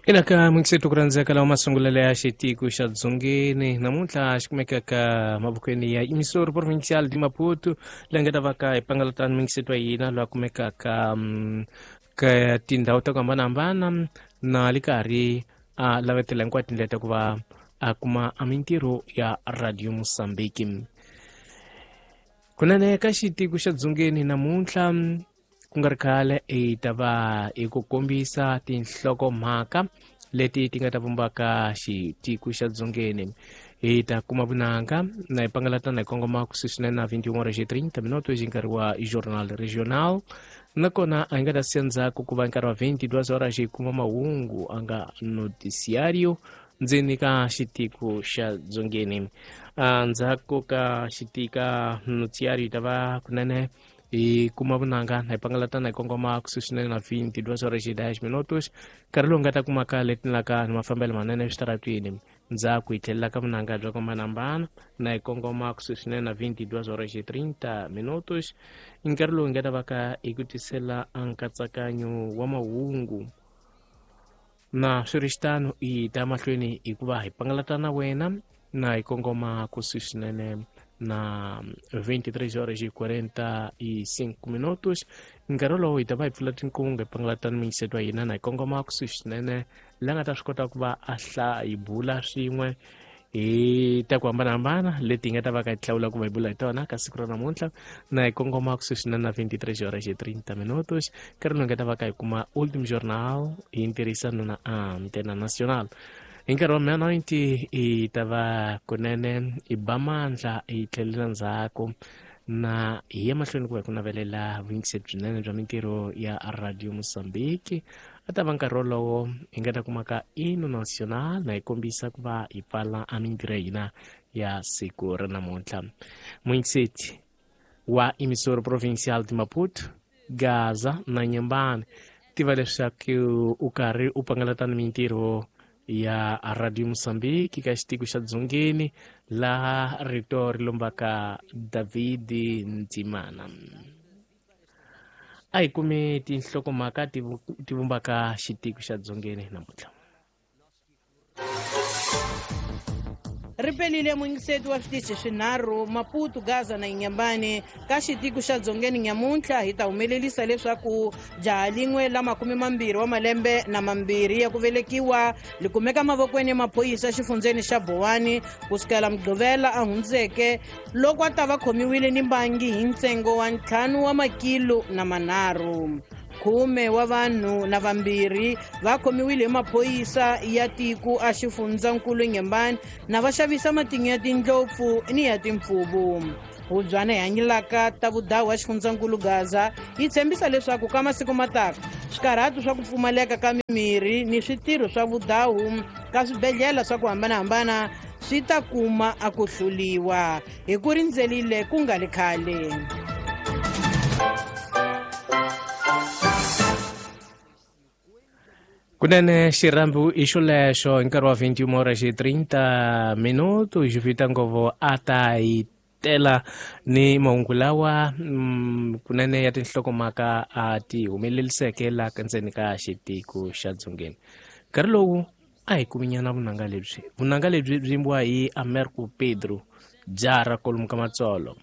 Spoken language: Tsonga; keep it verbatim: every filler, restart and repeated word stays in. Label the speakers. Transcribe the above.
Speaker 1: Ina ka muyingiseri ku rhandzeka lawa masungulelo ya xitiko xa Dzongeni namuntlha xi kumekaka mavokweni ya Emissora Provincial de Maputo leyi nga ta va ka hi pangalatani muyingiseri wa hina loyi a kumekaka ka tindhawu ta ku hambanahambana na le karhi a lavetela hinkwato tindlela ta ku va a kuma a mintirho ya Radio Mozambique. Kunene ka xitiko xa Dzongeni namuntlha ku nga ri khale hi ta va hi ku kombisa tinhlokomhaka leti ti nga ta vumbaka xitiko xa Dzongeni. Hi ta kuma vunanga na hi pangalatana hi kongoma kusuhi swinene na vinte e uma horas e trinta minutos hi nkarhi wa Jornal Regional, nakona a hi nga ta siya ndzhaku ku va nkarhi wa vinte e duas horas hi kuma mahungu a nga noticiário ndzeni ka xitiko xa Dzongeni. Ndzhaku ka xitika noticiário hi ta va kunene hi kuma vunanga na hi pangalatana hi kongoma kusuhi swinene na vinte e duas horas e dez minutos nkarhi lowu nga ta kumaka letinaka ni mafambelo manene eswitaratwini. Ndzhaku hi tlhelela ka vunanga bya ku hambanahambana na hi kongoma kusuhi swinene na vinte e duas horas e trinta minutos nkarhi lowu nga ta va ka hi ku tisela nkatsakanyo wa mahungu. Na swi ri xitano hi ta mahlweni hikuva hi pangalatana wena na hi kongoma kusuhi swinene na vinte e três horas e quarenta e cinco minutos nkarhi lowu hi ta va hi pfula tinkungu hi pangalatana muyingiseri wa hina na hi kongoma kusuhi swinene la nga ta swi kota ku va a hla hi bula swin'we hi ta ku hambanahambana leti hi nga ta va ka hi hlawula ku va hi bula hi tona ka siku ra namuntlha na hi kongoma kusuhi swinene na vinte e três horas e trinta minutos nkarhi lowu hi nga ta va ka hi kuma Último Jornal hi ntirhisano na Antena Nacional. Hi nkarhi wa meia-noite hi ta va kunene hi ba mandla hi tlhelela ndzhaku na hi ya mahlweni ku va hi ku navelela vuyingiseri byinene bya mintirho ya Radio Mozambique. A ta va nkarhi wolowo hi nga ta kumaka Hino Nacional na hi kombisa ku va hi pfala a mintirho ya hina ya siku ra namuntlha. Muyingiseri wa Emissora Provincial de Maputo, Gaza na Nyembane, tiva leswaku u karhi u pangalatana mintirho ya Radio Mozambique ka xitiko xa Dzongeni laha rito ri lombaka David Ntimana. A hi kumi tinhlokomhaka ti vumbaka xitiko xa Dzongeni namuntlha.
Speaker 2: Ri pelile muyingiseti wa switichi swinharhu Maputo, Gaza na Inhambane ka xitiko xa Dzongeni nyamuntlha hi ta humelerisa leswaku jaha lin'we la makume mambirhi wa malembe na mambirhi ya ku velekiwa li kumeka mavokweni ya maphorisa xifundzeni xa Bowani kusukela Mugqivela a hundzeke loko a ta va khomiwile ni mbangi hi ntsengo wa ntlhanu wa makilo na manharhu. Khume wa vanhu na vambirhi va khomiwile hi maphorisa ya tiko a xifundzankulu Inhambane na va xavisa matinyo ya tindlopfu ni ya timpfuvu. Hubyana hi hanyelaka ta vudawu wa xifundzankulu Gaza yi tshembisa leswaku ka masiku mataka swikarhatu swa ku pfumaleka ka mimirhi ni switirho swa vudawu ka swibedhlele swa ku hambanahambana swi ta kuma a ku hluliwa hi ku rindzelile ku nga li khale.
Speaker 1: Kunene xirhambo i xolexo hi nkarhi wa vinte e uma horas e trinta minutos Jovita Ngovo a ta hi tela ni mahungu lawa kunene ya tinhlokomhaka a ti humeleriseke la ndzeni ka xitiko xa Dzongeni. Nkarhi lowu a hi kuminyana vunanga lebyi vunanga lebyi byi yimbiwa hi Americo Pedro jara kolomu ka matsolo.